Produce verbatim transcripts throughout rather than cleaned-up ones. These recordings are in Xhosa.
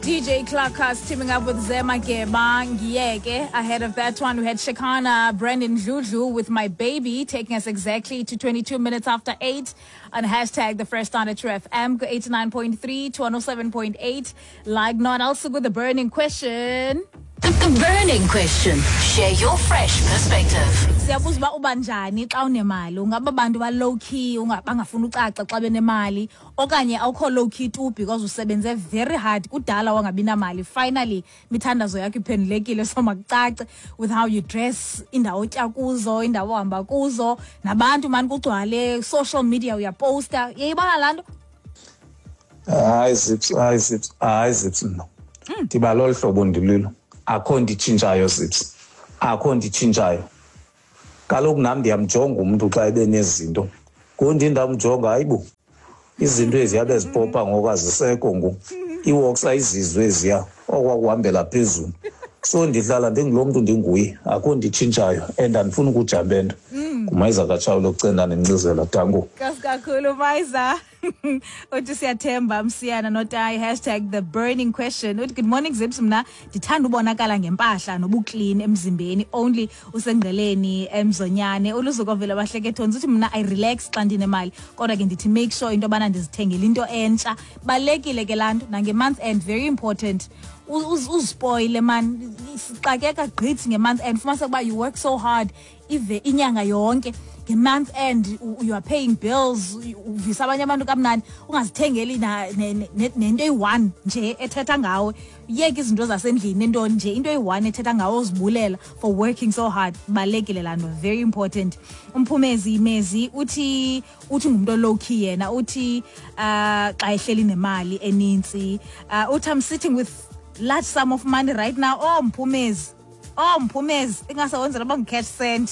D J Clarkus teaming up with Zema Geba Ngiyeke. Ahead of that one, we had Shekhinah Brandon Dludlu with "My Baby", taking us exactly to twenty-two minutes after eight on hashtag the Fresh Start at True F M, go eighty-nine point three to one oh seven point eight. Like not also with the burning question. The, the burning question. Share your fresh perspective. Siyabuza uba uba njani xa unemali. Ungaba bantu ba low key, bangafuni ucaca xa benemali, okanye awukho low key tu because usebenze very hard, kudala wangabi namali, finally imithandazo yakho iphendulekile, so makucace with how you dress, indawo otya kuzo, indawo ohamba kuzo, nabantu mani kugcwale social media, uyaposta. Uyayibona laa nto? Hayi Zips, hayi Zips, hayi Zips, mna ndiba lolu hlobo ndililo, akho nto itshintshayo Zips, akho nto itshintshayo. Kaloku nam ndiyamjonga umntu xa ebe nezinto, ngoku ndindamjonga, hayibo, izinto eziya bezipopa ngoku azisekho, ngoku iiworks ayizizwe eziya okwakuhambela phezulu. So ndihlala ndingulo mntu ndinguye, akho nto itshintshayo and andifuni ukujambe nto. Ngumayiza kaTshawule okucenda nencizela, danko. Nkosi kakhulu, Mayiza. Uthi siyathemba msiyana notayi, hashtag the burning question. Uthi, "Good morning Zips, mna ndithanda ubonakala ngempahla nobuclean emzimbeni only." Usengqeleni emzonyane uluzuko vela bahlekethonzi. Uthi, "Mna I relax xa ndinemali, kodwa ke ndithi make sure into yobana ndizithengele into entsha." Balulekile ke laa nto nange-month end, very important. Uzispoile man, sixakeka gqithi nge-month end. Fumaniseka uba you work so hard ive inyanga yonke, nge-month end you are paying bills, uvisa abanye abantu kamnandi, ungazithengeli nento eyi-one nje ethetha ngawe. Yeke izinto zasendlini, entoni nje, into eyi-one ethetha ngawe, uzibulela for working so hard. Balulekile laa nto, very important. Umphumezi mezi uthi uthi ngumntu low key yena. Uthi uh xa ehleli nemali enintsi, uh, uthi, "I'm sitting with large sum of money right now." Oh Mphumezi, oh Mphumezi, ingasewenzela uba ngu-cash send.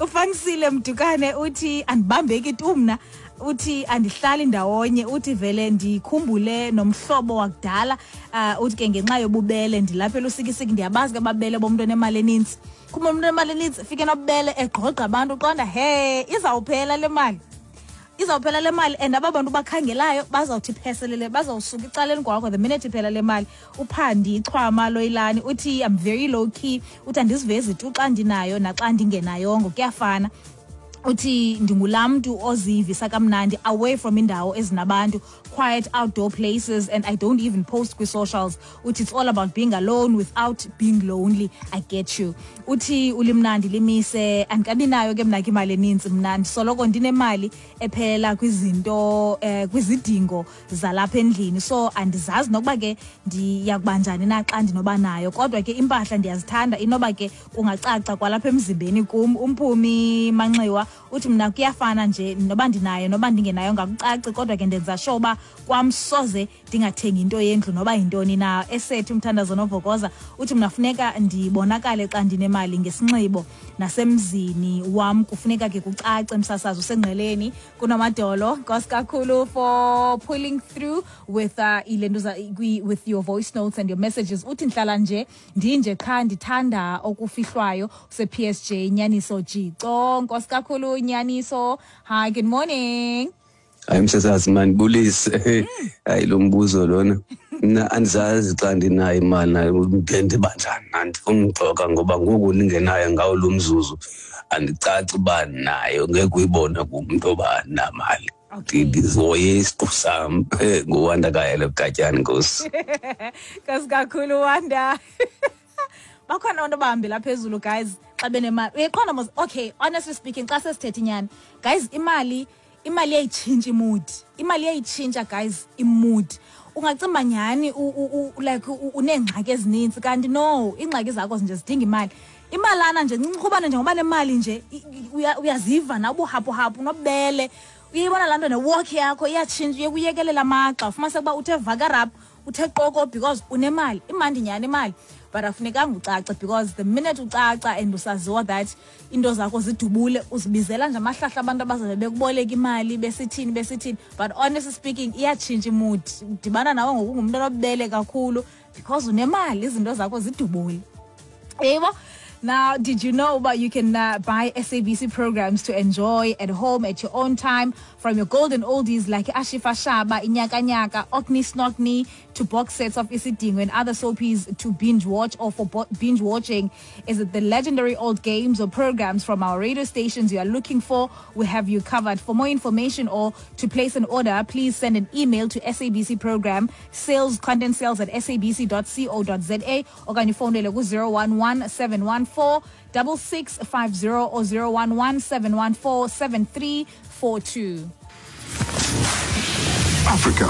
Ufanisile Mdukane uthi, "Andibambeki tu mna." Uthi, "Andihlali ndawonye." Uthi, "Vele ndikhumbule nomhlobo wakudala." uh, uthi ke, "Ngenxa yobubele ndilapha eLusikisiki." Ndiyabazi ke ababele bomntu onemali enintsi. Khumbula, umntu onemali enintsi fike nobubele, egqogqa abantu, uqonda he, izawuphela le mali, izawuphela le mali, and aba bantu bakhangelayo bazawuthi pheselele, bazawusuka ecaleni kwakho the minute iphela le mali. Uphandi ichwama loyilani uthi, "I'm very low key." Uthi, "Andizivezi tu xa ndinayo naxa ndingenayongo, kuyafana." Uthi, "Ndingulaa mntu ozivisa kamnandi away from indawo ezinabantu, quiet outdoor places, and I don't even post kwi-socials." Uthi, "It's all about being alone without being lonely." I get you. Uthi ulimnandi limise, "Andikabi nayo ke mna ke imali enintsi. Mna ndisoloko ndinemali ephelela kwizinto, eh, kwizidingo zalapha endlini, so andizazi nokuba ke ndiyakuba njani na xa ndinoba nayo. Kodwa ke impahla ndiyazithanda, inoba ke kungacaca kwalapha emzimbeni kum." Umphumi Manxiwa uthi, "Mna kuyafana nje, noba ndinayo noba ndingenayo, ngakucaci. Kodwa ke ndenza sure uba kwam soze ndingathengi into yendlu noba yintoni na." Esethi umthandazo novokoza uthi, "Mna funeka ndibonakale xa ndinemali ngesinxibo, nasemzini wam kufuneka ke kucace." Msasazi usengqeleni kunamadolo. Nkosi kakhulu for pulling through with uh, ilentuza with your voice notes and your messages. Uthi, "Ndihlala nje ndinje qha, ndithanda okufihlwayo." Use-P S J Nyaniso Jico. Nkosi kakhulu, Nyaniso. Hi, good morning. Hayi msasazi, mandibulise. Hayi, lo mbuzo lona, mna andizazi xa ndinayo imali nayo ndiba njani. Andifuni uxoka ngoba ngoku ndingenayo ngawo lo mzuzu, andicaci uba nayo, ngeke uyibone kumntu oba andinamali. Okay. Ndizihoye isiqu sam. Nguwanda kayele bugatyani, nkosi. Nkosi kakhulu, Wanda. Bakhona abantu abahambela phezulu, guys, xa benemali. Uyayiqonda mos? Okay, honestly speaking, xa sesithetha inyani, guys, imali imali iyayitshintsha imood. Imali iyayitshintsha, guys, imood. Ungacimba nyhani u- u- u- like u- uneengxaki ezinintsi, kanti no, iingxaki zakho nje zidinga imali, imalana nje ncinci. Ubane njengoba nemali nje, i- i- uya- uyaziva nawe ubuhapuhapu nobubele. Uyayibona laa nto, newalk yakho iyatshintsha, uye kuyekelela amagxa, ufumaniseka uba uthe vakarap, uthe qoko because unemali. Imandi nyhani imali, but afunekanga ucace, because the minute ucaca and usaziwa that into zakho zidubule, uzibizela nje amahlahla abantu abazabe bekuboleka imali, besithini besithini. But honestly speaking, iyatshintsha imood. Udibana nawe ngoku ungumntu onobubele kakhulu because unemali, izinto zakho zidubule. Yebo, Now, did you know but you can uh, buy S A B C programs to enjoy at home at your own time, from your golden oldies like Ashifa Shaba, Inyaka Nyaka, Okni Snokni, to box sets of Isidingo and other soapies to binge watch or for bo- binge watching? Is it the legendary old games or programs from our radio stations you are looking for? We have you covered. For more information or to place an order, please send an email to S A B C program sales content sales at S A B C dot co dot Z A or can you phone zero one one seven one four double six five zero or zero one one seven one four seven three four two. Africa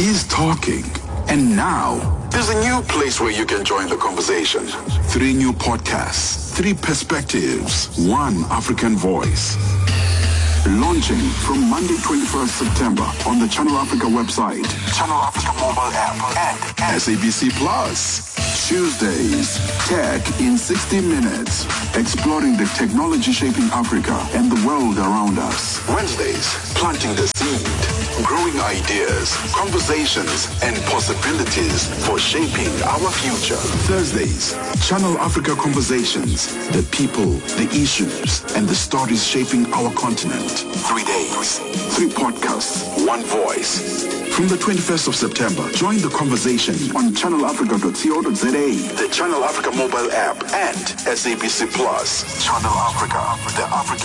is talking. And now, there's a new place where you can join the conversation. Three new podcasts, three perspectives, one African voice. Launching from Monday twenty-first September on the Channel Africa website, Channel Africa mobile app, and S A B C Plus. Tuesdays, Tech in sixty minutes, exploring the technology shaping Africa and the world around us. Wednesdays, planting the seed, growing ideas, conversations, and possibilities for shaping our future. Thursdays, Channel Africa Conversations, the people, the issues, and the stories shaping our continent. Three days, three podcasts, one voice. From the twenty-first of September, join the conversation on channel africa dot co dot za, the Channel Africa mobile app, and S A B C Plus. Channel Africa, the African